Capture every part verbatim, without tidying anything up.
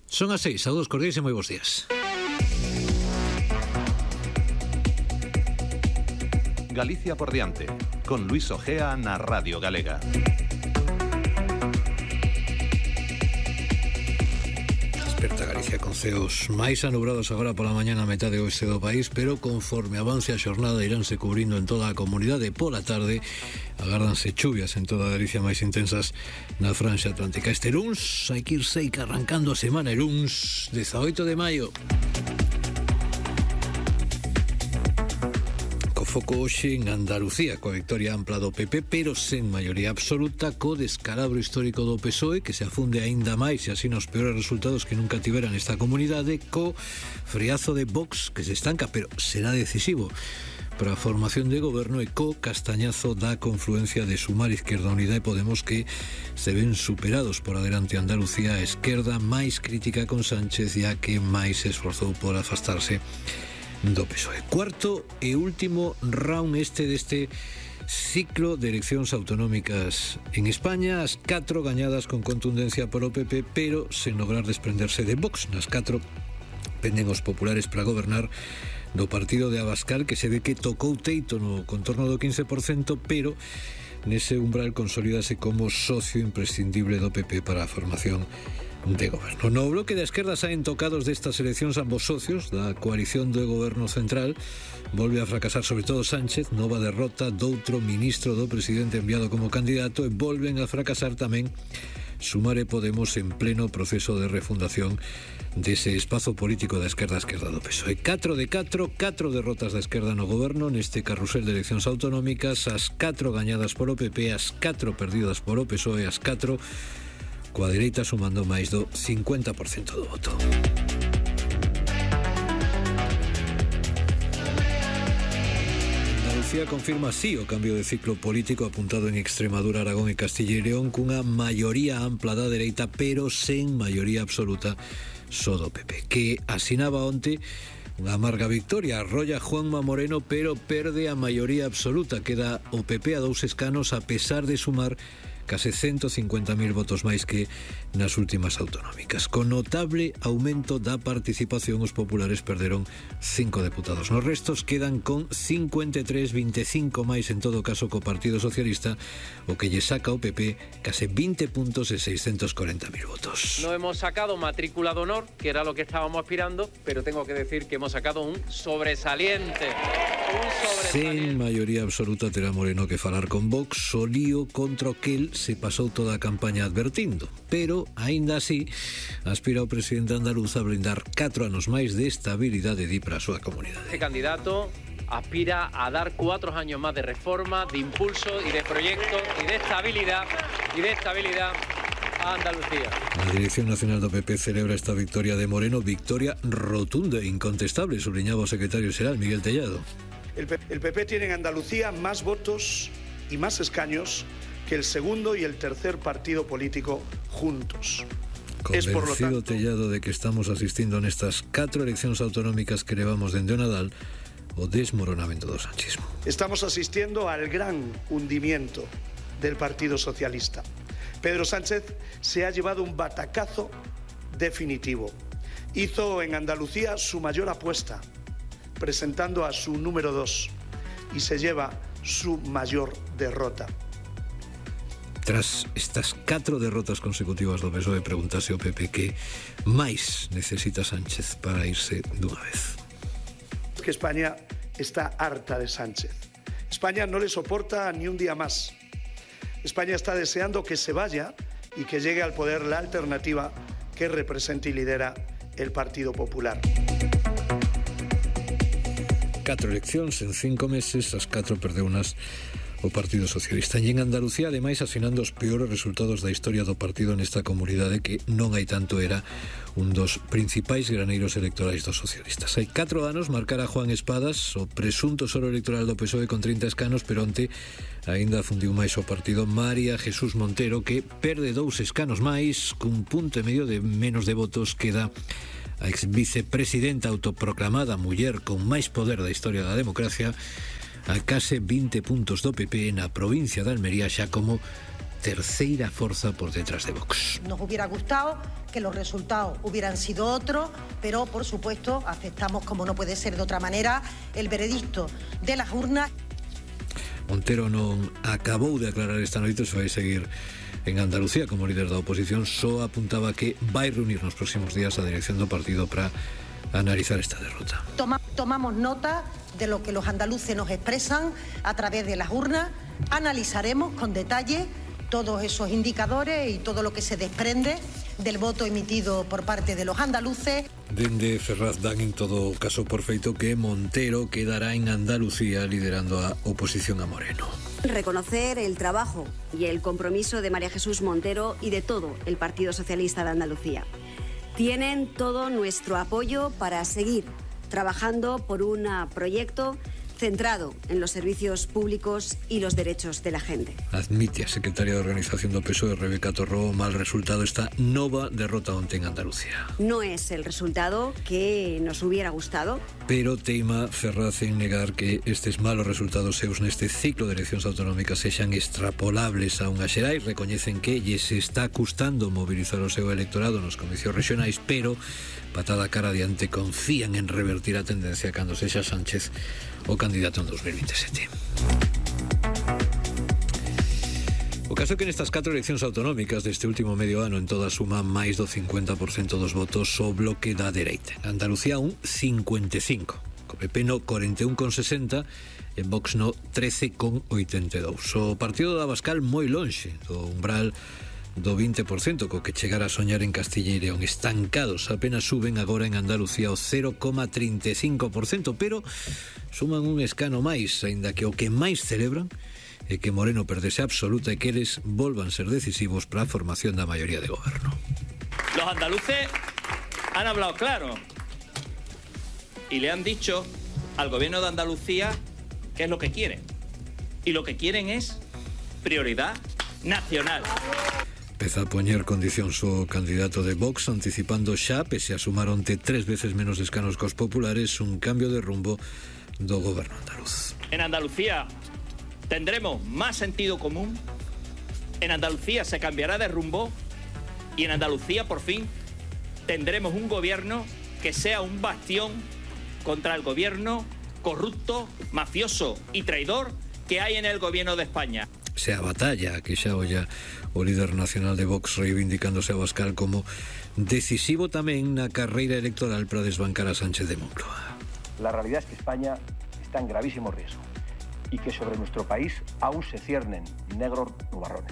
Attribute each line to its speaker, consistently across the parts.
Speaker 1: Son as seis, saúdos cordiais e moi bons días.
Speaker 2: Galicia por diante, con Luis Ojea na Radio Galega.
Speaker 1: Desperta Galicia con ceos máis anubrados agora pola mañá na metade oeste do país, pero conforme avance a xornada iránse cubrindo en toda a comunidade. Pola tarde agárdanse chuvias en toda a Galicia máis intensas na franxa atlántica. Este luns hai que ir seica arrancando a semana, el luns dezaoito de maio. Foco hoxe en Andalucía, coa victoria ampla do P P, pero sen maioría absoluta, co descalabro histórico do P S O E, que se afunde aínda máis e así nos peores resultados que nunca tiveran esta comunidade, co friazo de Vox, que se estanca, pero será decisivo para a formación de goberno, e co castañazo da confluencia de Sumar, Izquierda Unida e Podemos, que se ven superados por adelante Andalucía, a esquerda máis crítica con Sánchez, e a que máis se esforzou por afastarse do P S O E. Cuarto e último round este deste ciclo de eleccións autonómicas en España, as catro gañadas con contundencia polo P P, pero sen lograr desprenderse de Vox. Nas catro penden os populares para gobernar do partido de Abascal, que se ve que tocou teito no contorno do quince por cento, pero nese umbral consolídase como socio imprescindible do P P para a formación de goberno. No bloque de esquerda saen tocados destas eleccións ambos socios da coalición do goberno central. Volve a fracasar sobre todo Sánchez, nova derrota doutro ministro do presidente enviado como candidato, e volven a fracasar tamén Sumar e Podemos en pleno proceso de refundación dese espazo político da esquerda a esquerda do P S O E. catro de catro, catro derrotas da esquerda no goberno neste carrusel de eleccións autonómicas, as catro gañadas polo P P, as catro perdidas polo P S O E, as catro coa dereita sumando máis do cincuenta por cento do voto. Andalucía confirma así o cambio de ciclo político apuntado en Extremadura, Aragón e Castilla e León, cunha maioría ampla da dereita, pero sen maioría absoluta só do P P, que asinaba onte unha amarga victoria. Arrolla Juanma Moreno, pero perde a maioría absoluta. Queda o P P a dous escanos, a pesar de sumar case ciento cincuenta mil votos máis que nas últimas autonómicas. Con notable aumento da participación, os populares perderon cinco deputados. Nos restos quedan con cincuenta e tres, veinticinco máis en todo caso co Partido Socialista, o que lle saca ao P P case veinte puntos e seiscientos corenta mil votos.
Speaker 3: No hemos sacado matrícula de honor, que era lo que estábamos aspirando, pero tengo que decir que hemos sacado un sobresaliente. Un sobresaliente.
Speaker 1: Sen maioría absoluta terá Moreno que falar con Vox, o lío contra o que el se pasou toda a campaña advertindo, pero aínda así aspira o presidente andaluz a brindar catro anos máis de estabilidade di para a súa comunidade.
Speaker 3: Este candidato aspira a dar cuatro años más de reforma, de impulso y de proyecto y de estabilidad y de estabilidad a Andalucía.
Speaker 1: La Dirección Nacional do P P celebra esta victoria de Moreno, victoria rotunda e incontestable, subliñaba o secretario xeral Miguel Tellado.
Speaker 4: El P P tiene en Andalucía más votos y más escaños que el segundo y el tercer partido político juntos.
Speaker 1: Convencido es, por lo tanto, Tellado de que estamos asistindo nestas catro eleccións autonómicas que levamos dende o Nadal o desmoronamento do sanchismo.
Speaker 4: Estamos asistiendo al gran hundimiento del Partido Socialista. Pedro Sánchez se ha llevado un batacazo definitivo. Hizo en Andalucía su mayor apuesta, presentando a su número dos, y se lleva su mayor derrota.
Speaker 1: Tras estas catro derrotas consecutivas do P S O E, preguntase o P P que máis necesita Sánchez para irse dunha vez.
Speaker 4: Que España está harta de Sánchez. España no le soporta ni un día más. España está deseando que se vaya y que llegue al poder la alternativa que representa y lidera el Partido Popular.
Speaker 1: Catro eleccións en cinco meses, as catro perdeunas o Partido Socialista. E en Andalucía, ademais, asinando os peores resultados da historia do partido nesta comunidade, que non hai tanto era un dos principais graneiros electorais dos socialistas. Hai catro anos marcara Juan Espadas o presunto soro electoral do P S O E con trinta escanos, pero onte aínda fundiu máis o partido María Jesús Montero, que perde dous escanos máis, cun punto e medio de menos de votos. Queda a ex vicepresidenta autoproclamada muller con máis poder da historia da democracia, a case vinte puntos do P P na provincia de Almería, xa como terceira forza por detrás de Vox.
Speaker 5: Nos hubiera gustado que los resultados hubieran sido otros, pero por supuesto aceptamos, como no puede ser de otra manera, el veredicto de las urnas.
Speaker 1: Montero non acabou de aclarar esta noite se vai seguir en Andalucía como líder da oposición, só apuntaba que vai reunir nos próximos días a dirección do partido para analizar esta derrota.
Speaker 5: Toma, tomamos nota de lo que los andaluces nos expresan a través de las urnas, analizaremos con detalle todos esos indicadores y todo lo que se desprende del voto emitido por parte de los andaluces.
Speaker 1: Dende Ferraz dan en todo caso por feito que Montero quedará en Andalucía liderando a oposición a Moreno.
Speaker 6: Reconocer el trabajo y el compromiso de María Jesús Montero y de todo el Partido Socialista de Andalucía. Tienen todo nuestro apoyo para seguir trabajando por un proyecto centrado en los servicios públicos y los derechos de la gente.
Speaker 1: Admite a secretaria de Organización do P S O E, Rebeca Torró, o mal resultado esta nova derrota onte en Andalucía.
Speaker 6: No es el resultado que nos hubiera gustado.
Speaker 1: Pero teima Ferraz en negar que estes malos resultados seus neste ciclo de eleccións autonómicas sexan extrapolables a unhas xerais. Recoñecen que lles está custando mobilizar o seu electorado nos comicios regionais, pero patada cara adiante confían en revertir a tendencia cando sexa Sánchez o candidato en dos mil veintisiete. O caso é que nestas catro eleccións autonómicas deste último medio ano en toda suma máis do cincuenta por cento dos votos o bloque da dereita. En Andalucía un cincuenta e cinco, co P P no cuarenta e un con sesenta, en Vox no trece con oitenta e dous. O partido da Abascal moi lonxe do umbral do vinte por cento co que chegar a soñar en Castilla e León. Estancados apenas suben agora en Andalucía o cero coma trinta e cinco por cento, pero suman un escano máis, aínda que o que máis celebran é que Moreno perdese absoluta e que eles volvan ser decisivos para a formación da maioría de goberno.
Speaker 7: Los andaluces han hablado claro y le han dicho al gobierno de Andalucía qué es lo que quieren. Y lo que quieren es prioridad nacional.
Speaker 1: Empeza a poñer condicións o candidato de Vox, anticipando xa, pese a sumar onte tres veces menos escanos cos populares, un cambio de rumbo do goberno andaluz.
Speaker 7: En Andalucía tendremos más sentido común, en Andalucía se cambiará de rumbo y en Andalucía por fin tendremos un gobierno que sea un bastión contra el gobierno corrupto, mafioso y traidor que hay en el gobierno de España.
Speaker 1: Sea batalla que xa olla o líder nacional de Vox reivindicándose a Abascal como decisivo tamén na carreira electoral para desbancar a Sánchez de Moncloa.
Speaker 8: La realidad es que España está en gravísimo riesgo y que sobre nuestro país aún se ciernen negros nubarrones.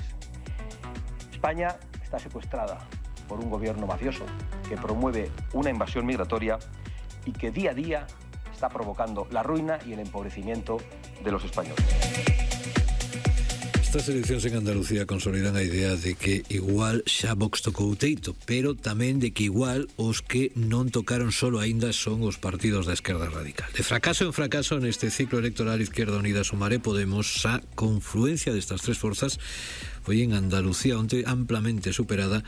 Speaker 8: España está secuestrada por un gobierno mafioso que promueve una invasión migratoria y que día a día está provocando la ruina y el empobrecimiento de los españoles.
Speaker 1: Estas eleccións en Andalucía consolidan a idea de que igual xa Vox tocou o teito, pero tamén de que igual os que non tocaron solo aínda son os partidos da esquerda radical. De fracaso en fracaso neste ciclo electoral, Izquierda Unida, Sumar e Podemos, a confluencia destas tres forzas foi en Andalucía onte amplamente superada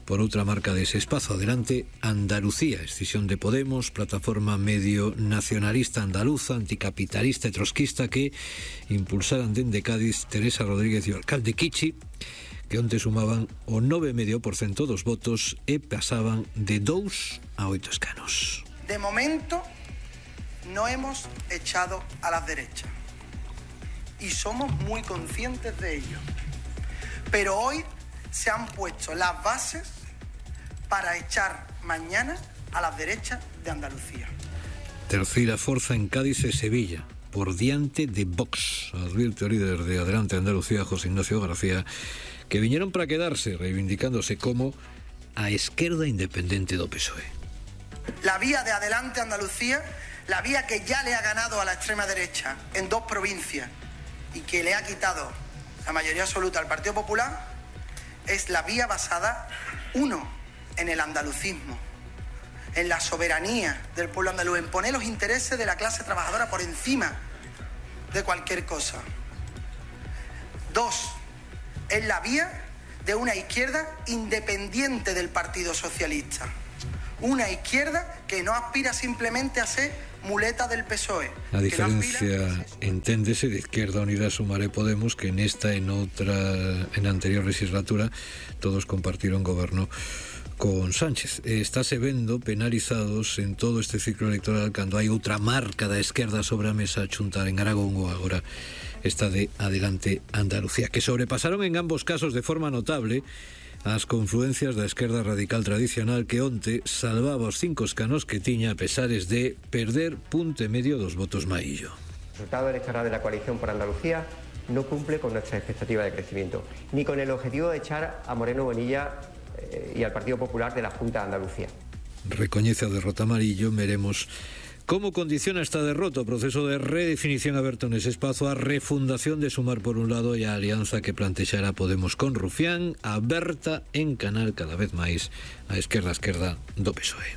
Speaker 1: por outra marca dese espazo. Adelante Andalucía, escisión de Podemos, plataforma medio nacionalista andaluza, anticapitalista e trotskista que impulsaran dende Cádiz Teresa Rodríguez e o alcalde Kichi, que onte sumaban o nove coma cinco por cento dos votos e pasaban de dous a oito escanos.
Speaker 9: De momento no hemos echado a las derechas y somos muy conscientes de ello, pero hoy se han puesto las bases para echar mañana a las derechas de Andalucía.
Speaker 1: Terceira forza en Cádiz e Sevilla, por diante de Vox, advierte o líder de Adelante Andalucía, José Ignacio García, que viñeron para quedarse, reivindicándose como a esquerda independente do P S O E.
Speaker 9: La vía de Adelante Andalucía, la vía que ya le ha ganado a la extrema derecha en dos provincias y que le ha quitado la mayoría absoluta al Partido Popular, es la vía basada, uno, en el andalucismo, en la soberanía del pueblo andaluz, en poner los intereses de la clase trabajadora por encima de cualquier cosa. Dos, es la vía de una izquierda independiente del Partido Socialista. Una izquierda que no aspira simplemente a ser muleta del P S O E.
Speaker 1: A diferencia, enténdese, de Izquierda Unida, Sumar e Podemos, que en esta, en outra, en a anterior legislatura, todos compartiron goberno con Sánchez. Estáse vendo penalizados en todo este ciclo electoral cando hai outra marca da esquerda sobre a mesa a chuntar en Aragón ou agora esta de Adelante Andalucía, que sobrepasaron en ambos casos de forma notable as confluencias da esquerda radical tradicional que onte salvaba os cinco escanos que tiña a pesares de perder punto e medio dos votos maillo.
Speaker 10: El resultado electoral de la coalición por Andalucía no cumple con nuestra expectativa de crecimiento, ni con el objetivo de echar a Moreno Bonilla eh, y al Partido Popular de la Junta de Andalucía.
Speaker 1: Recoñece a derrota amarillo, veremos como condiciona esta derrota o proceso de redefinición aberto nese espazo a refundación de Sumar por un lado e a alianza que plantexará Podemos con Rufián, aberta en canal cada vez máis a esquerda a esquerda do P S O E.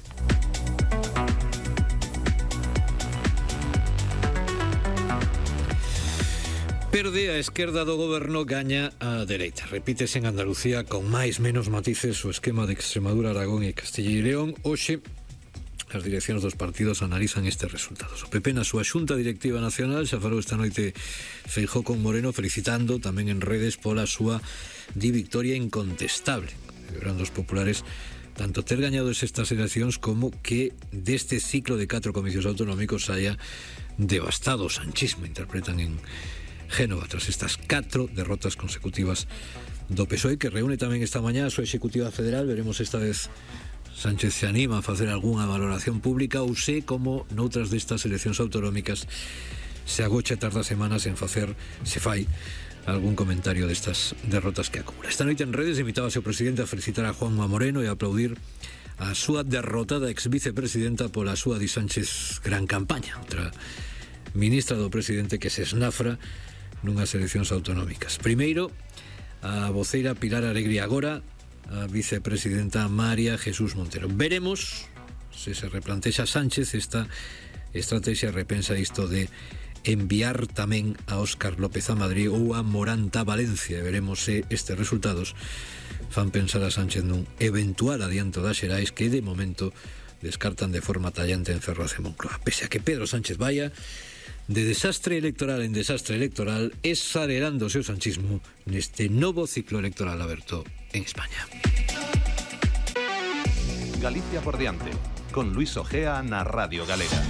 Speaker 1: Perde a esquerda do goberno, gaña a dereita. Repítese en Andalucía con máis menos matices o esquema de Extremadura, Aragón e Castilla e León. Hoxe as direccións dos partidos analizan estes resultados. O P P na súa xunta directiva nacional xa falou esta noite Feijóo con Moreno, felicitando tamén en redes pola súa di victoria incontestable. Celebrando os populares tanto ter gañado estas eleccións como que deste ciclo de catro comicios autonómicos haya devastado o sanchismo, interpretan en Génova, tras estas catro derrotas consecutivas do P S O E, que reúne tamén esta mañá a súa executiva federal. Veremos esta vez Sánchez se anima a facer algunha valoración pública ou se, como noutras destas eleccións autonómicas, se agocha tardas semanas en facer, se fai, algún comentario destas derrotas que acumula. Esta noite en redes invitábase o presidente a felicitar a Juanma Moreno e a aplaudir a súa derrotada ex-vicepresidenta pola súa di Sánchez gran campaña, outra ministra do presidente que se esnafra nunhas eleccións autonómicas. Primeiro, a voceira Pilar Alegría, agora a vicepresidenta María Jesús Montero. Veremos se se replantexa Sánchez esta estrategia, repensa isto de enviar tamén a Óscar López a Madrid ou a Moranta a Valencia. Veremos se estes resultados fan pensar a Sánchez nun eventual adianto das xerais que de momento descartan de forma tallante en Ferraz e Moncloa. Pese a que Pedro Sánchez vaya de desastre electoral en desastre electoral, exagerando o seu sanchismo neste novo ciclo electoral aberto en España.
Speaker 2: Galicia por diante, con Luis Ojea na Radio Galega.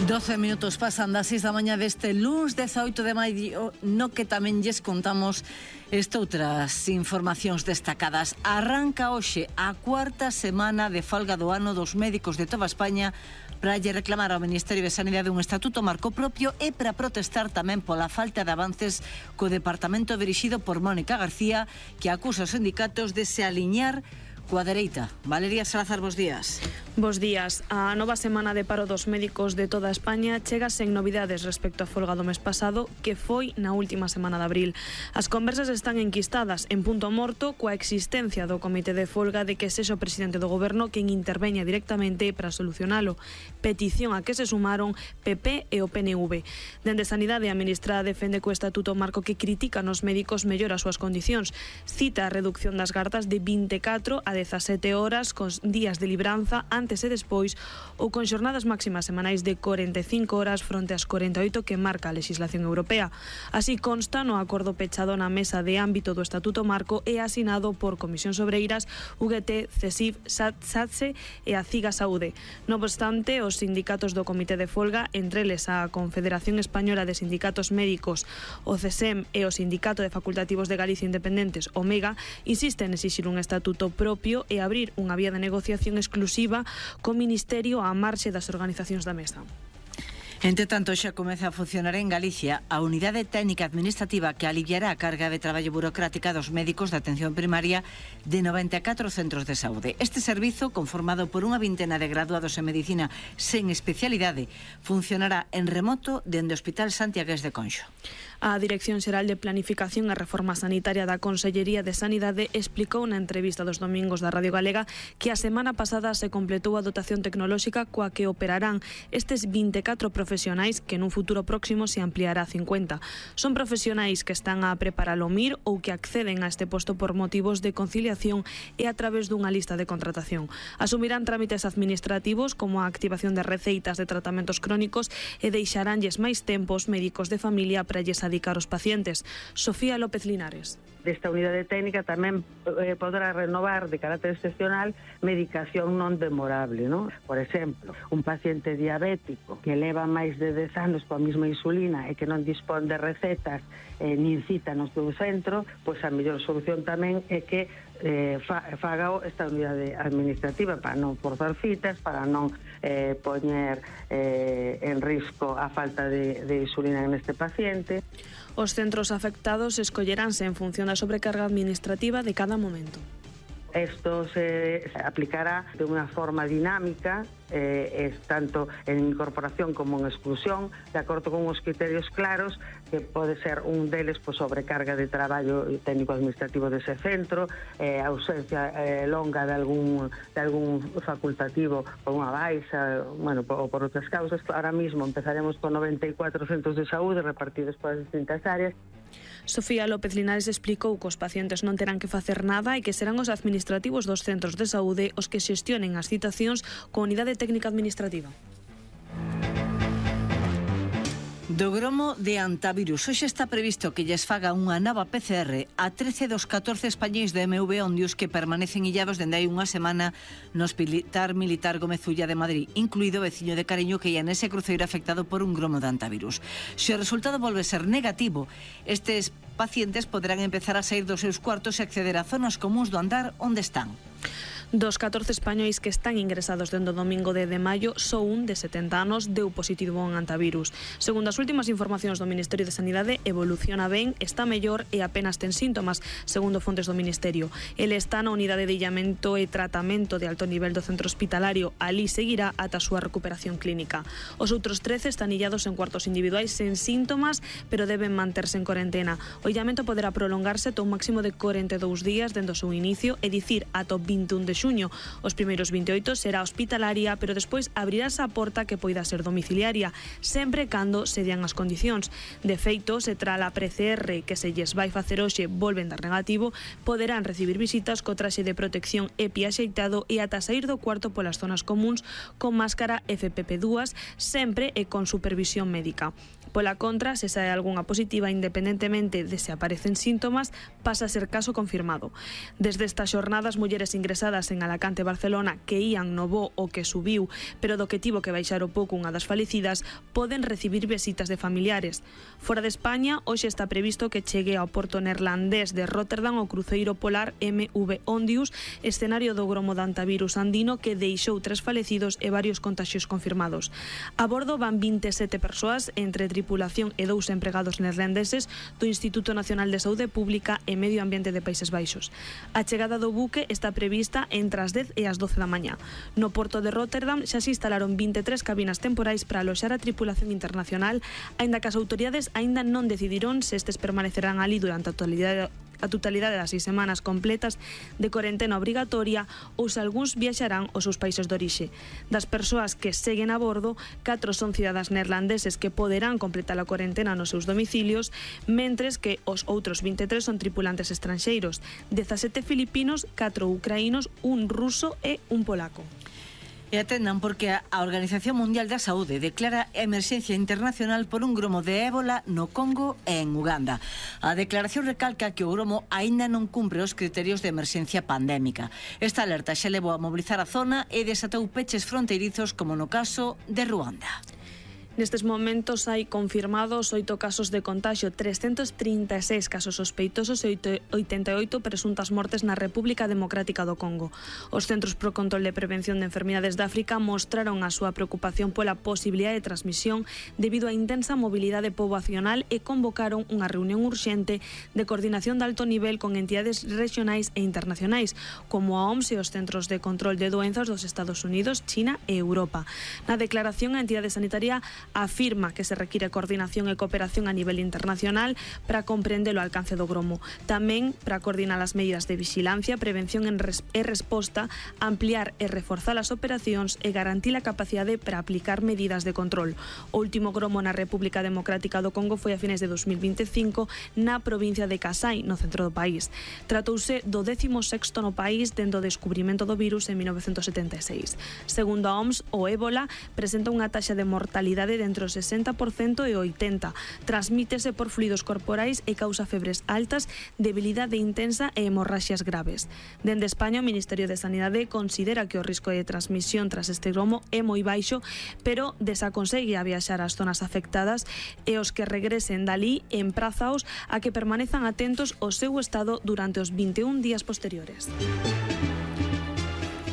Speaker 11: doce minutos pasan das seis da mañá deste luns dezaoito de maio, no que tamén lles contamos estoutras informacións destacadas. Arranca hoxe a cuarta semana de folga do ano dos médicos de toda España para lle reclamar ao Ministerio de Sanidade un estatuto marco propio e para protestar tamén pola falta de avances co departamento dirixido por Mónica García, que acusa os sindicatos de se aliñar coa dereita. Valeria Salazar, bos días.
Speaker 12: Bos días. A nova semana de paro dos médicos de toda España chega sen novidades respecto á folga do mes pasado, que foi na última semana de abril. As conversas están enquistadas en punto morto coa existencia do comité de folga de que sexa o presidente do goberno quen interveña directamente para solucionalo. Petición a que se sumaron P P e o P N V. Dende Sanidade, a ministra defende co estatuto marco que critica nos médicos mellora as súas condicións. Cita a reducción das gardas de vinte e catro a dezasete horas con días de libranza antes e despois ou con xornadas máximas semanais de corenta e cinco horas fronte ás corenta e oito que marca a legislación europea. Así consta no acordo pechado na mesa de ámbito do Estatuto Marco e asinado por Comisións Obreiras, U G T, CESIF, SATSE e a CIGA Saúde. Non obstante, os sindicatos do Comité de Folga, entre eles a Confederación Española de Sindicatos Médicos, o CESEM e o Sindicato de Facultativos de Galicia Independentes, o MEGA, insisten en exixir un estatuto propio e abrir unha vía de negociación exclusiva co Ministerio á marxe das organizacións da mesa.
Speaker 11: Entre tanto, xa comeza a funcionar en Galicia a Unidade Técnica Administrativa que aliviará a carga de traballo burocrática dos médicos de atención primaria de noventa e catro centros de saúde. Este servizo, conformado por unha vintena de graduados en medicina sen especialidade, funcionará en remoto dende o Hospital Santiagués de Conxo.
Speaker 12: A Dirección Xeral de Planificación e Reforma Sanitaria da Consellería de Sanidade explicou na entrevista dos domingos da Radio Galega que a semana pasada se completou a dotación tecnolóxica coa que operarán estes vinte e catro profesionales profesionais que nun futuro próximo se ampliará a cincuenta. Son profesionais que están a preparar o M I R ou que acceden a este posto por motivos de conciliación e a través dunha lista de contratación. Asumirán trámites administrativos como a activación de receitas de tratamentos crónicos e deixaránlles máis tempos médicos de familia para lles adicar os pacientes. Sofía López Linares.
Speaker 13: Desta unidade técnica tamén eh, podrá renovar de carácter excepcional medicación non demorable, non? Por exemplo, un paciente diabético que leva máis de dez anos coa mesma insulina e que non dispón de recetas eh, nin cita no seu centro, pois a mellor solución tamén é que eh, fa, faga esta unidade administrativa para non forzar citas, para non eh, poñer eh, en risco a falta de, de insulina neste paciente.
Speaker 12: Os centros afectados escolleránse en función da sobrecarga administrativa de cada momento.
Speaker 13: Esto se aplicará de unha forma dinámica, eh, es tanto en incorporación como en exclusión, de acordo con os criterios claros, que pode ser un deles pois, sobrecarga de traballo técnico-administrativo dese centro, eh, ausencia eh, longa de algún, de algún facultativo por unha baixa, bueno, ou por outras causas. Ahora mismo empezaremos con noventa e cuatro centros de saúde repartidos polas distintas áreas.
Speaker 12: Sofía López Linares explicou que os pacientes non terán que facer nada e que serán os administrativos dos centros de saúde os que xestionen as citacións con unidade técnica administrativa.
Speaker 11: Do gromo de antivirus. Hoxe está previsto que lles faga unha nova P C R a trece dos catorce españois do M V Ondius que permanecen illados dende hai unha semana no Hospital Militar Gómez Ulla de Madrid, incluído o veciño de Cariño que ia nese cruceiro afectado por un gromo de antivirus. Se o resultado volve ser negativo, estes pacientes poderán empezar a sair dos seus cuartos e acceder a zonas comuns do andar onde están.
Speaker 12: Dos catorce españois que están ingresados dende o domingo de, de maio, só un de setenta anos deu positivo en antivirus. Segundo as últimas informacións do Ministerio de Sanidade, evoluciona ben, está mellor e apenas ten síntomas, segundo fontes do Ministerio. Ele está na unidade de illamento e tratamento de alto nivel do centro hospitalario. Ali seguirá ata a súa recuperación clínica. Os outros trece están illados en cuartos individuais sen síntomas, pero deben manterse en corentena. O illamento poderá prolongarse ata un máximo de corenta e dous días dende o seu inicio, é dicir, ata o vinte e un de xuño. Os primeiros vinte e oito será hospitalaria, pero despois abrirás a porta que poida ser domiciliaria, sempre cando se dean as condicións. De feito, se tra a P C R que se lles vai facer hoxe volven dar negativo, poderán recibir visitas co traxe de protección EPI axeitado e ata sair do cuarto polas zonas comuns con máscara F P P dúas, sempre e con supervisión médica. Pola contra, se sae algunha positiva independentemente de se aparecen síntomas, pasa a ser caso confirmado. Desde estas xornadas, mulleres ingresadas en Alacante e Barcelona que ían no voo o que subiu, pero do que tivo que baixar o pouco unha das falecidas, poden recibir visitas de familiares. Fora de España, hoxe está previsto que chegue ao porto neerlandés de Rotterdam o cruceiro polar M V Ondius, escenario do gromo de antivirus andino que deixou tres falecidos e varios contaxios confirmados. A bordo van vinte e sete persoas, entre tripulación e dous empregados neerlandeses do Instituto Nacional de Saúde Pública e Medio Ambiente de Países Baixos. A chegada do buque está prevista entre as dez e as doce da mañá. No porto de Rotterdam xa se instalaron vinte e tres cabinas temporais para aloxar a tripulación internacional, aínda que as autoridades aínda non decidiron se estes permanecerán ali durante a totalidade a totalidade das seis semanas completas de corentena obrigatoria ou se algúns viaxarán aos seus países de orixe. Das persoas que seguen a bordo, catro son cidadás neerlandeses que poderán completar a corentena nos seus domicilios, mentres que os outros vinte e tres son tripulantes estranxeiros, dezasete filipinos, catro ucraínos, un ruso e un polaco.
Speaker 11: E atendan porque a Organización Mundial da Saúde declara emerxencia internacional por un gromo de ébola no Congo e en Uganda. A declaración recalca que o gromo aínda non cumpre os criterios de emerxencia pandémica. Esta alerta xa levou a mobilizar a zona e desatou peches fronteirizos como no caso de Ruanda.
Speaker 12: Nestes momentos hai confirmados oito casos de contagio, trescentos trinta e seis casos sospeitosos e oitenta e oito presuntas mortes na República Democrática do Congo. Os Centros pro Control de Prevención de Enfermidades de África mostraron a súa preocupación pola posibilidade de transmisión debido á intensa mobilidade poboacional e convocaron unha reunión urxente de coordinación de alto nivel con entidades regionais e internacionais, como a O M S e os Centros de Control de Doenzas dos Estados Unidos, China e Europa. Na declaración, a entidade sanitaria Afirma que se require coordinación e cooperación a nivel internacional para comprender o alcance do gromo. Tamén para coordinar as medidas de vigilancia, prevención e resposta, ampliar e reforzar as operacións e garantir a capacidade para aplicar medidas de control. O último gromo na República Democrática do Congo foi a fines de dos mil veinticinco na provincia de Kasai, no centro do país. Tratouse do décimo sexto no país dende o descubrimento do virus en mil novecentos setenta e seis. Segundo a O M S, o ébola presenta unha taxa de mortalidade de entre o sesenta por cento e o oitenta por cento. Transmítese por fluidos corporais e causa febres altas, debilidade intensa e hemorraxias graves. Dende España, o Ministerio de Sanidade considera que o risco de transmisión tras este gromo é moi baixo, pero desaconsella viaxar ás zonas afectadas e os que regresen dali emprazaos a que permanezan atentos ao seu estado durante os vinte e un días posteriores.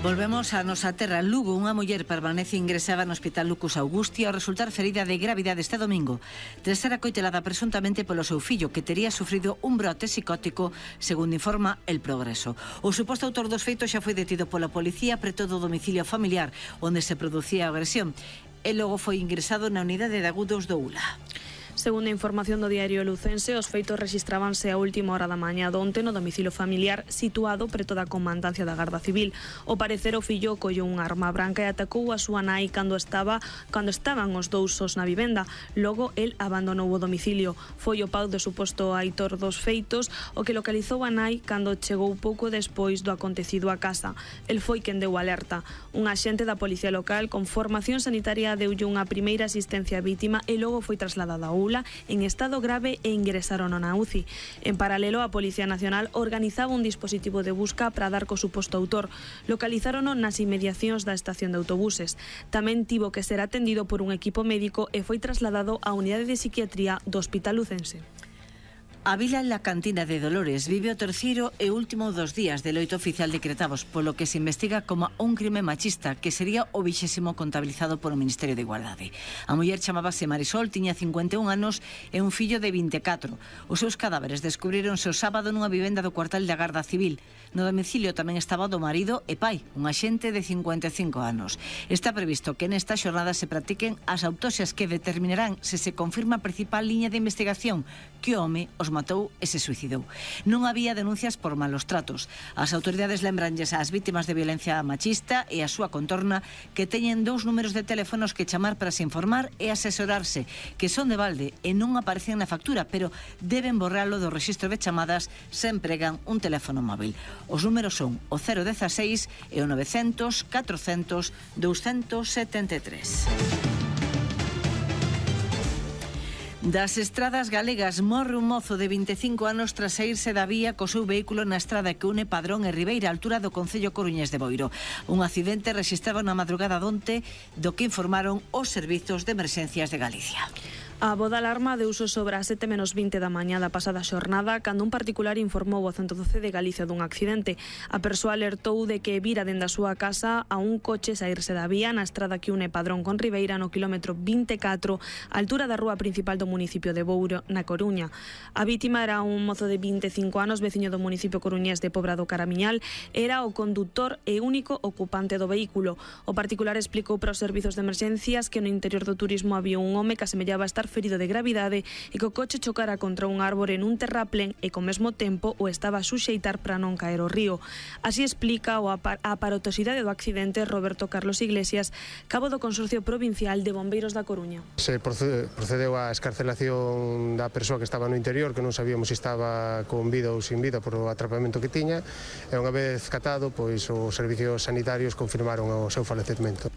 Speaker 11: Volvemos a nosa terra. Lugo, unha muller permanece ingresada no Hospital Lucas Augusti ao resultar ferida de gravidade este domingo, tras ser acoitelada presuntamente polo seu fillo, que tería sufrido un brote psicótico, segundo informa El Progreso. O suposto autor dos feitos xa foi detido pola policía preto do domicilio familiar onde se producía a agresión e logo foi ingresado na unidade de agudos do U L A.
Speaker 12: Segundo a información do diario Lucense, os feitos rexistrábanse a última hora da mañá donte no domicilio familiar situado preto da comandancia da Garda Civil. Ao parecer, o fillo colleu unha arma branca e atacou a súa nai cando estaba cando estaban os dous sós na vivenda. Logo, el abandonou o domicilio. Foi o pau do suposto aitor dos feitos o que localizou a nai cando chegou pouco despois do acontecido a casa. El foi quen deu alerta. Un axente da policía local con formación sanitaria deulle unha primeira asistencia á vítima e logo foi trasladada ao U L A en estado grave e ingresaron na U C I. En paralelo, a Policía Nacional organizaba un dispositivo de busca para dar co suposto autor. Localizárono nas inmediacións da estación de autobuses. Tamén tivo que ser atendido por un equipo médico e foi trasladado á unidade de psiquiatría do Hospital Lucense.
Speaker 11: A vila en la Cantina de Dolores vive o terceiro e último dos días de loito oficial decretados, polo que se investiga como un crime machista, que sería o vixésimo contabilizado polo Ministerio de Igualdade. A muller chamábase Marisol, tiña cincuenta e un anos e un fillo de vinte e catro. Os seus cadáveres descubrironse o sábado nunha vivenda do cuartel da Garda Civil. No domicilio tamén estaba do marido e pai, un axente de cincuenta e cinco anos. Está previsto que nesta xornada se practiquen as autopsias que determinarán se se confirma a principal liña de investigación, que o home os matou e se suicidou. Non había denuncias por malos tratos. As autoridades lembranlles ás vítimas de violencia machista e a súa contorna que teñen dous números de teléfonos que chamar para se informar e asesorarse, que son de balde e non aparecen na factura, pero deben borralo do rexistro de chamadas se empregan un teléfono móvil. Os números son o cero dezasseis e o novecentos, catrocentos, douscentos setenta e tres. Das estradas galegas morre un mozo de vinte e cinco anos tras saírse da vía co seu vehículo na estrada que une Padrón e Ribeira, a altura do concello coruñés de Boiro. Un accidente rexistrado na madrugada donte, do que informaron os servizos de emerxencias de Galicia.
Speaker 12: A voz de alarma deuse sobre as sete menos vinte da mañá da pasada xornada cando un particular informou ao ciento doce de Galicia dun accidente. A persoa alertou de que vira dende a súa casa a un coche saírse da vía na estrada que une Padrón con Ribeira no quilómetro vinte e catro, a altura da rúa principal do municipio de Bouro, na Coruña. A vítima era un mozo de vinte e cinco anos, veciño do municipio coruñés de Pobra do Caramiñal, era o condutor e único ocupante do vehículo. O particular explicou para os servizos de emerxencias que no interior do turismo había un home que asemellaba estar ferido de gravidade e que o coche chocara contra un árbore nun terraplén e co mesmo tempo o estaba a suxeitar para non caer ao río. Así explica o apar a aparatosidade do accidente Roberto Carlos Iglesias, cabo do Consorcio Provincial de Bombeiros da Coruña.
Speaker 14: Se procedeu á escarcelación da persoa que estaba no interior, que non sabíamos se estaba con vida ou sin vida por o atrapamento que tiña, e unha vez catado, pois os servicios sanitarios confirmaron o seu falecemento.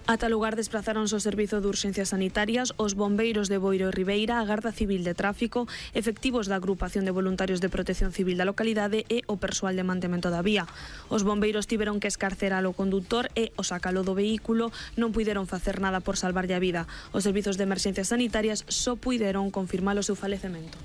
Speaker 12: Ata lugar desplazaronse o Servizo de Urxencias Sanitarias, os bombeiros de Boiro e Ribeira, a Garda Civil de Tráfico, efectivos da Agrupación de Voluntarios de Protección Civil da localidade e o persoal de mantemento da vía. Os bombeiros tiveron que escarcerar o condutor e o sacalo do vehículo, non puideron facer nada por salvarlle a vida. Os servizos de emerxencias sanitarias só puideron confirmar o seu falecemento.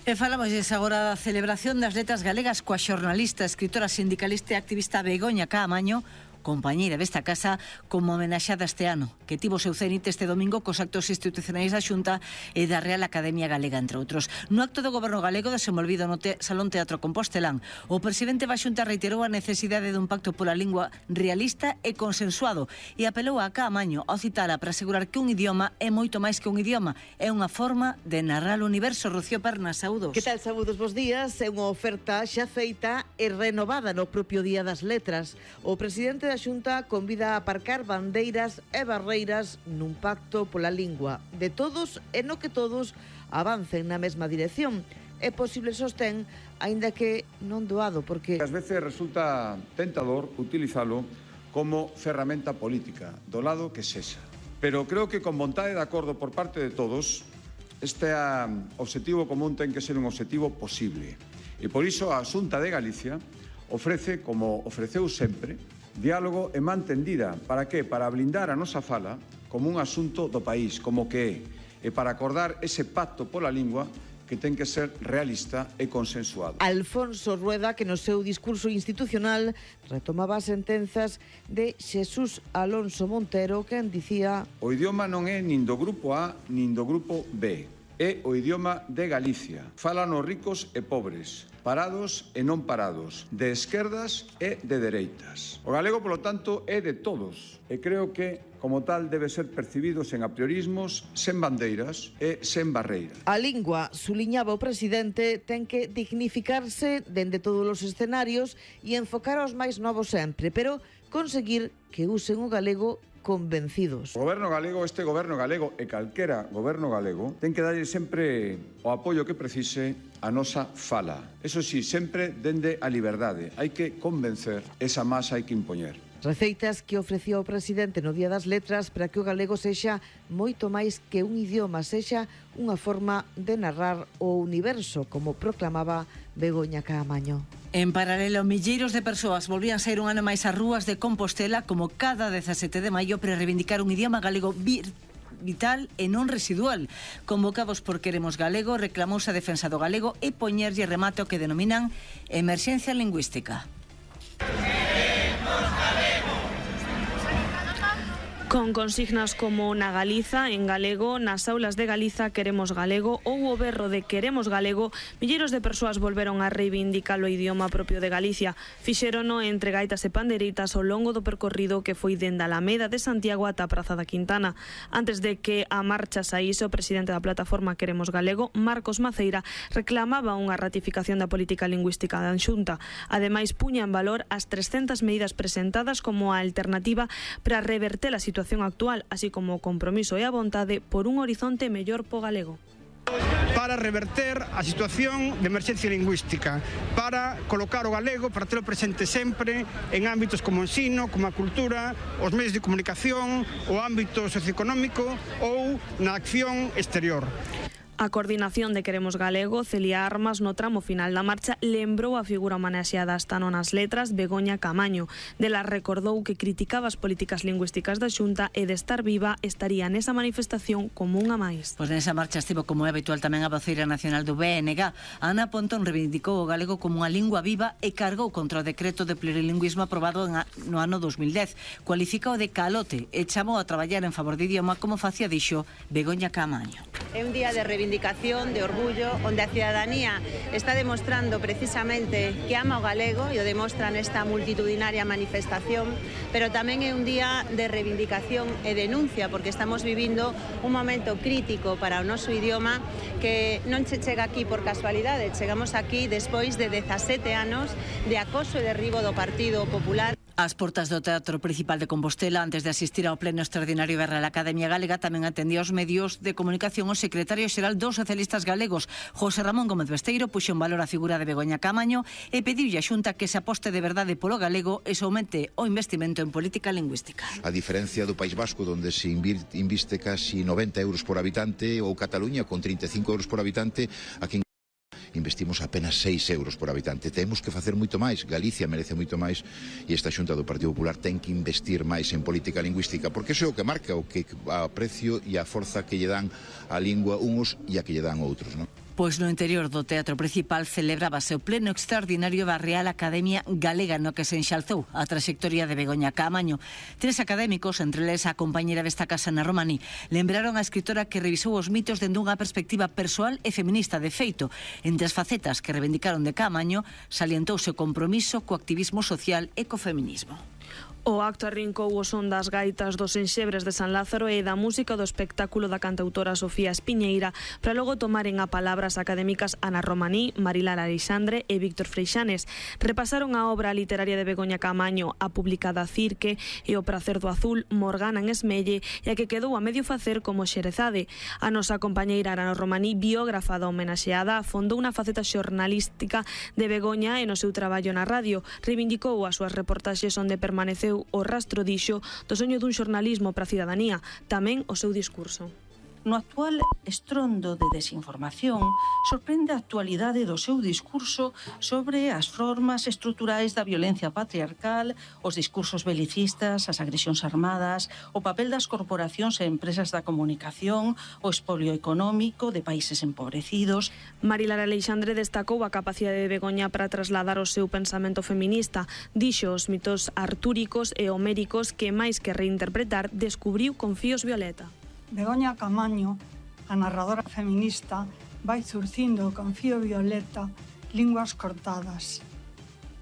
Speaker 11: E falamos agora da celebración das letras galegas coa xornalista, escritora, sindicalista e activista Begoña Caamaño, compañeira desta casa como homenaxada este ano, que tivo seu cenit este domingo cos actos institucionais da Xunta e da Real Academia Galega, entre outros. No acto do Goberno galego desenvolvido no te Salón Teatro Compostelán, o presidente da Xunta reiterou a necesidade dun pacto pola lingua realista e consensuado e apelou a Caamaño ao citala para asegurar que un idioma é moito máis que un idioma, é unha forma de narrar o universo. Rocío Pernas, saúdos.
Speaker 15: Que tal, saúdos, bons días. É unha oferta xa feita e renovada no propio Día das Letras. O presidente da Xunta convida a aparcar bandeiras e barreiras nun pacto pola lingua de todos e no que todos avancen na mesma dirección. É posible, sostén, aínda que non doado, porque
Speaker 16: ás veces resulta tentador utilizalo como ferramenta política, do lado que sexa. Pero creo que con vontade de acordo por parte de todos, este obxectivo común ten que ser un obxectivo posible. E por iso a Xunta de Galicia ofrece, como ofreceu sempre, diálogo e man tendida. Para que? Para blindar a nosa fala como un asunto do país, como que é, e para acordar ese pacto pola lingua que ten que ser realista e consensuado.
Speaker 15: Alfonso Rueda, que no seu discurso institucional retomaba as sentenzas de Xesús Alonso Montero, que dicía:
Speaker 16: o idioma non é nin do grupo A nin do grupo B, é o idioma de Galicia. Falan os ricos e pobres, parados e non parados, de esquerdas e de dereitas. O galego, polo tanto, é de todos e creo que, como tal, debe ser percibido sen apriorismos, sen bandeiras e sen barreiras.
Speaker 15: A lingua, suliñaba o presidente, ten que dignificarse dende todos os escenarios e enfocar aos máis novos sempre, pero conseguir que usen o galego convencidos.
Speaker 16: O goberno galego, este goberno galego e calquera goberno galego, ten que darlle sempre o apoio que precise a nosa fala. Eso sí, sempre dende a liberdade. Hai que convencer, esa masa hai que impoñer.
Speaker 15: Receitas que ofrecía o presidente no Día das Letras para que o galego sexa moito máis que un idioma, sexa unha forma de narrar o universo, como proclamaba Begoña Caamaño.
Speaker 11: En paralelo, milleiros de persoas volvían sair un ano máis ás rúas de Compostela como cada dezasete de maio para reivindicar un idioma galego vir vital e non residual. Convocados por Queremos Galego, reclamouse a defensa do galego e poñerlle remate o que denominan emerxencia lingüística.
Speaker 12: Con consignas como na Galiza, en galego, nas aulas de Galiza Queremos Galego ou o berro de Queremos Galego, milleiros de persoas volveron a reivindicar o idioma propio de Galicia. Fixérono entre gaitas e panderitas ao longo do percorrido que foi dende a Alameda de Santiago ata a Praza da Quintana. Antes de que a marcha saíse, o presidente da plataforma Queremos Galego, Marcos Maceira, reclamaba unha ratificación da política lingüística da Xunta. Ademais, puña en valor as trescentas medidas presentadas como a alternativa para reverter a situación situación actual, así como o compromiso e a vontade por un horizonte mellor po galego.
Speaker 17: Para reverter a situación de emerxencia lingüística, para colocar o galego, para telo presente sempre en ámbitos como o ensino, como a cultura, os medios de comunicación, o ámbito socioeconómico ou na acción exterior.
Speaker 12: A coordinación de Queremos Galego, Celia Armas, no tramo final da marcha, lembrou a figura homenaxeada esta no nas letras, Begoña Caamaño. Dela recordou que criticaba as políticas lingüísticas da Xunta e de estar viva estaría nesa manifestación como unha máis.
Speaker 11: Pois nesa marcha estivo, como é habitual, tamén a voceira nacional do B N G. Ana Pontón reivindicou o galego como unha lingua viva e cargou contra o decreto de plurilingüismo aprobado no ano dos mil dez. Cualificou de calote e chamou a traballar en favor do idioma, como facía, dixo, Begoña Caamaño.
Speaker 18: É un día de reivindicación, de orgullo, onde a cidadanía está demostrando precisamente que ama o galego e o demostra nesta multitudinaria manifestación, pero tamén é un día de reivindicación e denuncia, porque estamos vivindo un momento crítico para o noso idioma que non se chega aquí por casualidade, chegamos aquí despois de dezasete anos de acoso e derribo do Partido Popular.
Speaker 11: As portas do Teatro Principal de Compostela, antes de asistir ao pleno extraordinario da Real Academia Galega, tamén atendía aos medios de comunicación o secretario xeral dos socialistas galegos, José Ramón Gómez Besteiro, puxo en valor a figura de Begoña Caamaño e pediulle a Xunta que se aposte de verdade polo galego e se aumente o investimento en política lingüística.
Speaker 19: A diferencia do País Vasco, onde se inviste casi noventa euros por habitante, ou Cataluña con trinta e cinco euros por habitante, aquí en investimos apenas seis euros por habitante. Temos que facer moito máis, Galicia merece moito máis e esta Xunta do Partido Popular ten que investir máis en política lingüística, porque iso é o que marca o que a precio e a forza que lle dan a lingua uns e a que lle dan outros, non?
Speaker 11: Pois no interior do Teatro Principal celebrábase o pleno extraordinario da Real Academia Galega, no que se enxalzou a traxectoria de Begoña Caamaño. Tres académicos, entre eles a compañera desta casa Ana Romaní, lembraron a escritora que revisou os mitos dende unha perspectiva persoal e feminista. De feito, entre as facetas que reivindicaron de Caamaño, salientouse o compromiso co activismo social e co feminismo.
Speaker 12: O acto arrincou o son das gaitas dos enxebres de San Lázaro e da música do espectáculo da cantautora Sofía Espiñeira, para logo tomaren a palabra as académicas Ana Romaní, Marilar Alexandre e Víctor Freixanes. Repasaron a obra literaria de Begoña Caamaño, a publicada Cirque e O prazer do azul, Morgana en Esmelle e a que quedou a medio facer como Xerezade. A nosa compañeira Ana Romaní, biógrafa da homenaxeada, afondou unha faceta xornalística de Begoña e no seu traballo na radio. Reivindicou as súas reportaxes onde permaneceu o rastro, dixo, do soño dun xornalismo para a cidadanía, tamén o seu discurso.
Speaker 20: No actual estrondo de desinformación, sorprende a actualidade do seu discurso sobre as formas estruturais da violencia patriarcal, os discursos belicistas, as agresións armadas, o papel das corporacións e empresas da comunicación, o expolio económico de países empobrecidos.
Speaker 12: Marilar Alexandre destacou a capacidade de Begoña para trasladar o seu pensamento feminista. Dixo os mitos artúricos e homéricos que, máis que reinterpretar, descubriu con fíos violeta.
Speaker 21: Begoña Caamaño, a narradora feminista, vai zurcindo con fío violeta linguas cortadas.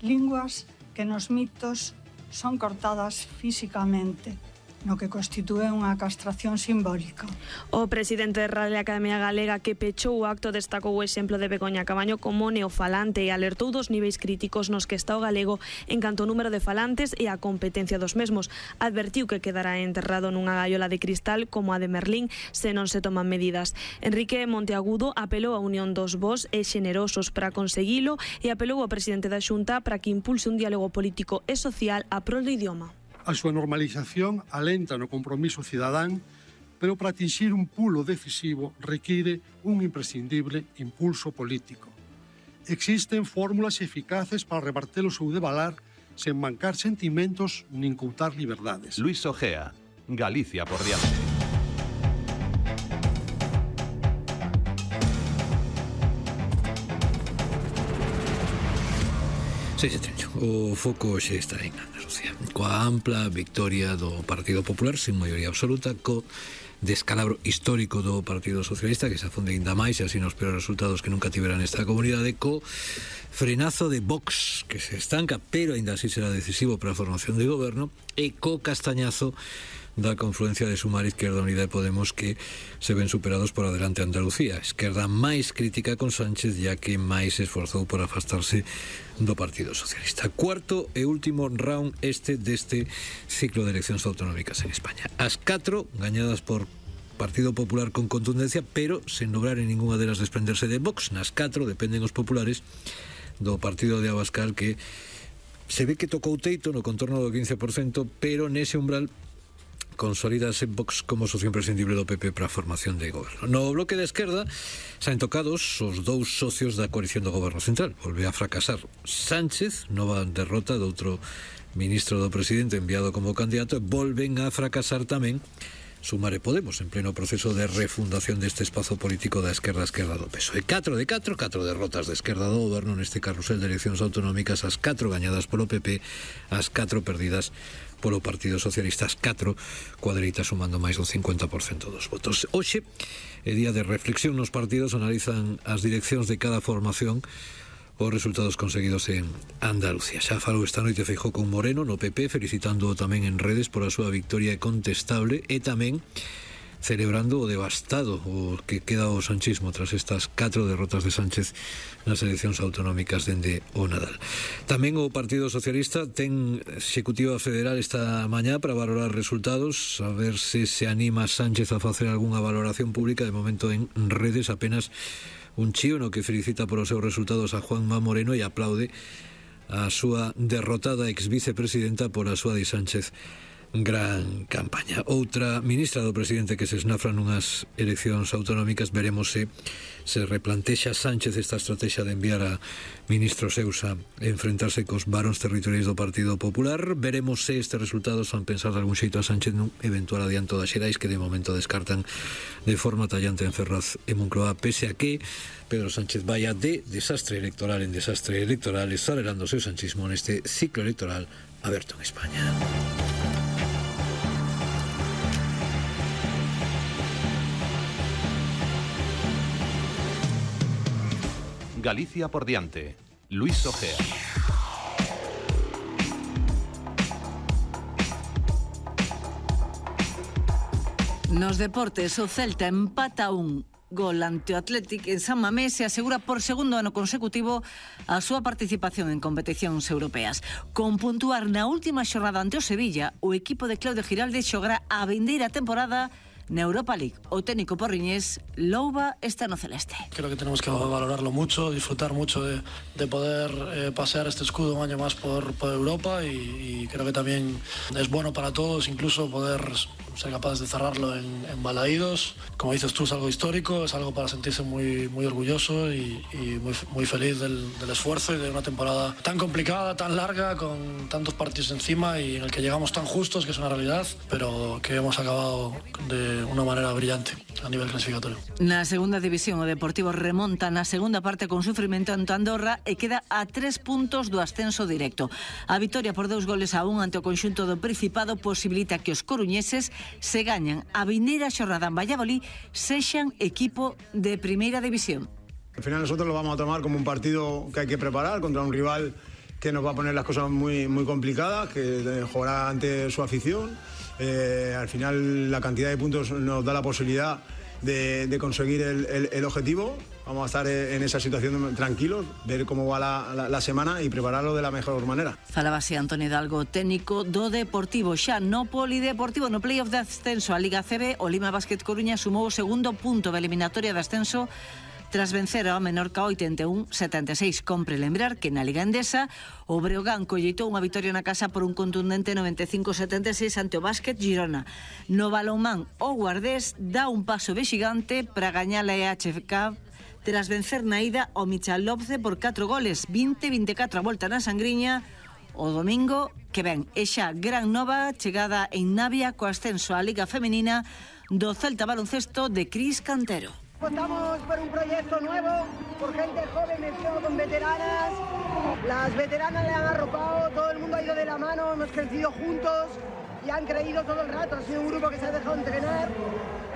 Speaker 21: Linguas que nos mitos son cortadas físicamente, no que constitúe unha castración simbólica.
Speaker 12: O presidente da Real Academia Galega, que pechou o acto, destacou o exemplo de Begoña Caamaño como neofalante e alertou dos niveis críticos nos que está o galego en canto ao número de falantes e a competencia dos mesmos. Advertiu que quedará enterrado nunha gaiola de cristal como a de Merlín se non se toman medidas. Enrique Monteagudo apelou á unión dos bos e xenerosos para conseguilo e apelou ao presidente da Xunta para que impulse un diálogo político e social a prol do idioma.
Speaker 22: A súa normalización alenta no compromiso cidadán, pero para atinxir un pulo decisivo require un imprescindible impulso político. Existen fórmulas eficaces para reverter o seu devalar sen mancar sentimentos nin coutar liberdades.
Speaker 2: Luis Ojea, Galicia por diante.
Speaker 1: seis e treinta. O foco xe está en Andalucía, coa ampla victoria do Partido Popular sin maioría absoluta, co descalabro histórico do Partido Socialista, que se afunde ainda máis e así nos peores resultados que nunca tiveran esta comunidade, co frenazo de Vox, que se estanca, pero ainda así será decisivo para a formación de goberno, e co castañazo da confluencia de Sumar, Izquierda Unida e Podemos, que se ven superados por Adelante Andalucía. Esquerda máis crítica con Sánchez, ya que máis se esforzou por afastarse do Partido Socialista. Cuarto e último round este deste ciclo de eleccións autonómicas en España. As catro gañadas por Partido Popular con contundencia, pero sen lograr en ninguna delas desprenderse de Vox. Nas catro dependen os populares do partido de Abascal, que se ve que tocou teito no contorno do quince por cento, pero nese umbral consolídase Vox como socio imprescindible do P P para a formación de goberno. No bloque de esquerda saen tocados os dous socios da coalición do goberno central. Volve a fracasar Sánchez, nova derrota do outro ministro do presidente enviado como candidato, e volven a fracasar tamén Sumar e Podemos, en pleno proceso de refundación deste espazo político da esquerda esquerda do P S O E. Catro de catro, catro derrotas de esquerda do goberno neste carrusel de eleccións autonómicas, as catro gañadas polo P P, as catro perdidas polo Partido Socialista, as catro cuadritas sumando máis do cincuenta por cento dos votos. Hoxe é día de reflexión nos partidos, analizan as direccións de cada formación os resultados conseguidos en Andalucía. Xa falou esta noite Feijóo con Moreno no P P, felicitando tamén en redes por a súa victoria contestable e tamén celebrando o devastado o que queda o sanchismo tras estas catro derrotas de Sánchez nas eleccións autonómicas dende o Nadal. Tamén o Partido Socialista ten executiva federal esta mañá para valorar resultados, a ver se se anima Sánchez a facer algunha valoración pública. De momento en redes apenas un chío no que felicita por os seus resultados a Juanma Moreno e aplaude a súa derrotada ex vicepresidenta por a súa de Sánchez gran campaña. Outra ministra do presidente que se esnafra nunhas eleccións autonómicas, veremos se se replantexa Sánchez esta estrategia de enviar a ministros seus a enfrentarse cos varóns territoriais do Partido Popular. Veremos se estes resultados fan pensar de algún xeito a Sánchez nun eventual adianto das xerais que de momento descartan de forma tallante en Ferraz e Moncloa, pese a que Pedro Sánchez vaya de desastre electoral en desastre electoral, acelerando o seu sanchismo neste ciclo electoral aberto en España.
Speaker 2: Galicia por diante. Luis Ojea.
Speaker 11: Nos deportes, o Celta empata un gol ante o Athletic en San Mamés e asegura por segundo ano consecutivo a súa participación en competicións europeas. Con puntuar na última xornada ante o Sevilla, o equipo de Claudio Giralde xogará a vindeira temporada na Europa League. O técnico porriñés louba este ano celeste.
Speaker 3: Creo que tenemos que valorarlo mucho, disfrutar mucho de, de poder eh, pasear este escudo un año más por, por Europa y, y creo que también es bueno para todos incluso poder ser capaces de cerrarlo en, en Balaídos. Como dices tú, es algo histórico, es algo para sentirse muy, muy orgulloso y, y muy, muy feliz del, del esfuerzo y de una temporada tan complicada, tan larga, con tantos partidos encima y en el que llegamos tan justos, que es una realidad, pero que hemos acabado de una manera brillante a nivel clasificatorio.
Speaker 11: Na segunda división, o Deportivo remonta na segunda parte con sufrimento ante Andorra e queda a tres puntos do ascenso directo. A vitoria por dous goles a un ante o conxunto do Principado posibilita que os coruñeses se gañan a vindeira xornada en Valladolid sexan equipo de primeira división.
Speaker 4: Al final nosotros lo vamos a tomar como un partido que hay que preparar contra un rival que nos va a poner las cosas muy, muy complicadas, que jugará ante su afición. Eh, al final la cantidad de puntos nos da la posibilidad de, de conseguir el, el, el objetivo. Vamos a estar en esa situación tranquilos, ver cómo va la, la, la semana y prepararlo de la mejor manera.
Speaker 11: Falaba así Antonio Hidalgo, técnico do Deportivo. Xa no polideportivo, no playoff de ascenso a Liga C B, o Lima Basket Coruña sumou o segundo punto da eliminatoria de ascenso tras vencer ao Menorca oitenta e un a setenta e seis. Compre lembrar que na Liga Endesa o Breogán colleitou unha vitoria na casa por un contundente noventa e cinco a setenta e seis ante o Básquet Girona. No balonmán, o Guardés dá un paso vexigante para gañar a E H F Cup tras vencer na ida o Michalovce por catro goles, vinte a vinte e catro a volta na Sangriña o domingo que ven. E xa gran nova chegada en Navia co ascenso á Liga Femenina do Celta Baloncesto de Cris Cantero.
Speaker 23: Apostamos por un proyecto nuevo, por gente joven mezclado con veteranas. Las veteranas le han arropado, todo el mundo ha ido de la mano, hemos crecido juntos y han creído todo el rato. Ha sido un grupo que se ha dejado entrenar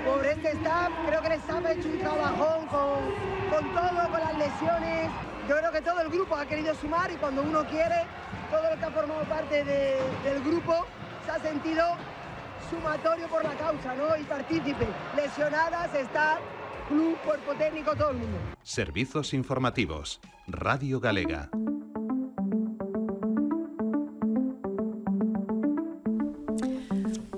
Speaker 23: por este staff. Creo que el staff ha hecho un trabajón con, con todo, con las lesiones. Yo creo que todo el grupo ha querido sumar y cuando uno quiere, todo lo que ha formado parte de, del grupo se ha sentido sumatorio por la causa, ¿no? Y partícipe. Lesionadas, staff, club, cuerpo técnico, todo el mundo.
Speaker 2: Servizos informativos. Radio Galega.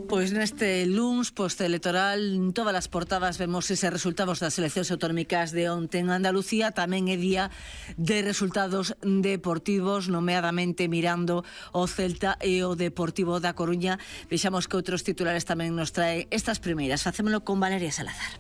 Speaker 11: Pois neste luns postelectoral en todas as portadas vemos ese resultados das eleccións autonómicas de onte en Andalucía. Tamén é día de resultados deportivos, nomeadamente mirando o Celta e o Deportivo da Coruña. Vexamos que outros titulares tamén nos trae estas primeiras. Facémolo con Valeria Salazar.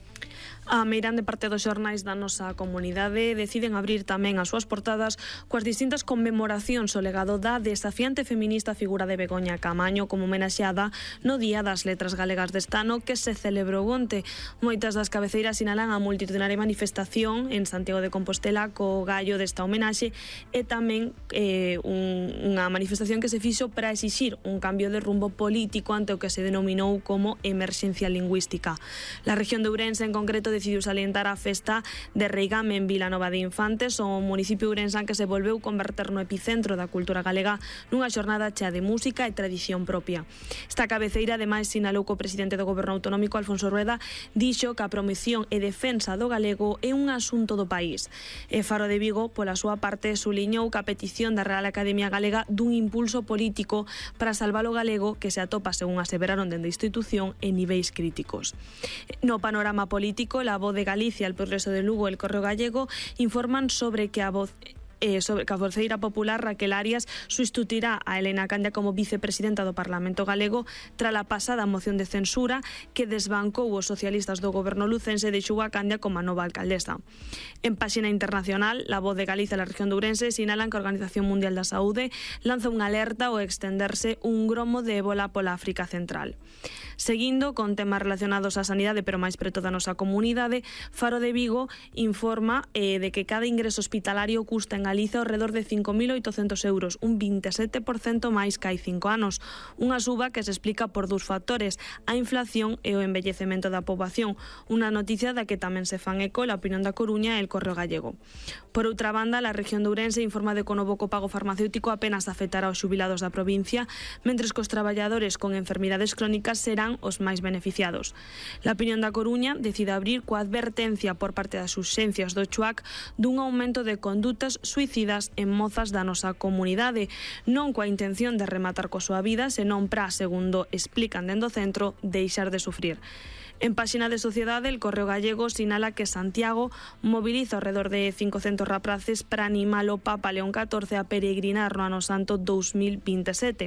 Speaker 12: A meirande parte dos xornais da nosa comunidade deciden abrir tamén as súas portadas coas distintas conmemoracións ao legado da desafiante feminista figura de Begoña Camaño como homenaxeada no Día das Letras Galegas deste ano que se celebrou onte. Moitas das cabeceiras sinalan a multitudinaria manifestación en Santiago de Compostela co gallo desta homenaxe e tamén eh, un, unha manifestación que se fixo para exixir un cambio de rumbo político ante o que se denominou como emerxencia lingüística. La región de Ourense en concreto decidiu salientar a festa de Reigame en Vilanova de Infantes, o municipio ourensán que se volveu converter no epicentro da cultura galega nunha xornada chea de música e tradición propia. Esta cabeceira ademais sinalou que o presidente do goberno autonómico Alfonso Rueda dixo que a promoción e defensa do galego é un asunto do país. E Faro de Vigo, pola súa parte, suliñou que a petición da Real Academia Galega dun impulso político para salvar o galego que se atopa, según aseveraron dende a institución, en niveis críticos. No panorama político, La Voz de Galicia, El Progreso de Lugo e El Correo Gallego informan sobre que a voz eh, sobre que a voceira popular Raquel Arias sustituirá a Elena Candia como vicepresidenta do Parlamento galego tras a pasada moción de censura que desbancou os socialistas do goberno lucense e deixou a Candia como a nova alcaldesa. En páxina internacional, La Voz de Galicia e a región de Ourense sinalan que a Organización Mundial da Saúde lanza unha alerta ao extenderse un gromo de ébola pola África Central. Seguindo con temas relacionados á sanidade, pero máis preto da nosa comunidade, Faro de Vigo informa eh, de que cada ingreso hospitalario custa en Galicia ao redor de cinco mil oitocentos euros, un vinte e sete por cento máis que hai cinco anos. Unha suba que se explica por dous factores, a inflación e o envellecemento da poboación, unha noticia da que tamén se fan eco la Opinión da Coruña e el Correo Gallego. Por outra banda, a región de Ourense informa de que o novo copago farmacéutico apenas afectará aos xubilados da provincia, mentres que os traballadores con enfermidades crónicas serán os máis beneficiados. La Opinión da Coruña decide abrir coa advertencia por parte das urxencias do Chuac dun aumento de condutas suicidas en mozas da nosa comunidade, non coa intención de rematar coa súa vida, senón para, segundo explican dentro do centro, deixar de sufrir. En páxina de Sociedade, el Correo Gallego sinala que Santiago moviliza ao redor de cincocentos rapaces para animar o Papa León catorce a peregrinar no Ano Santo dous mil vinte e sete.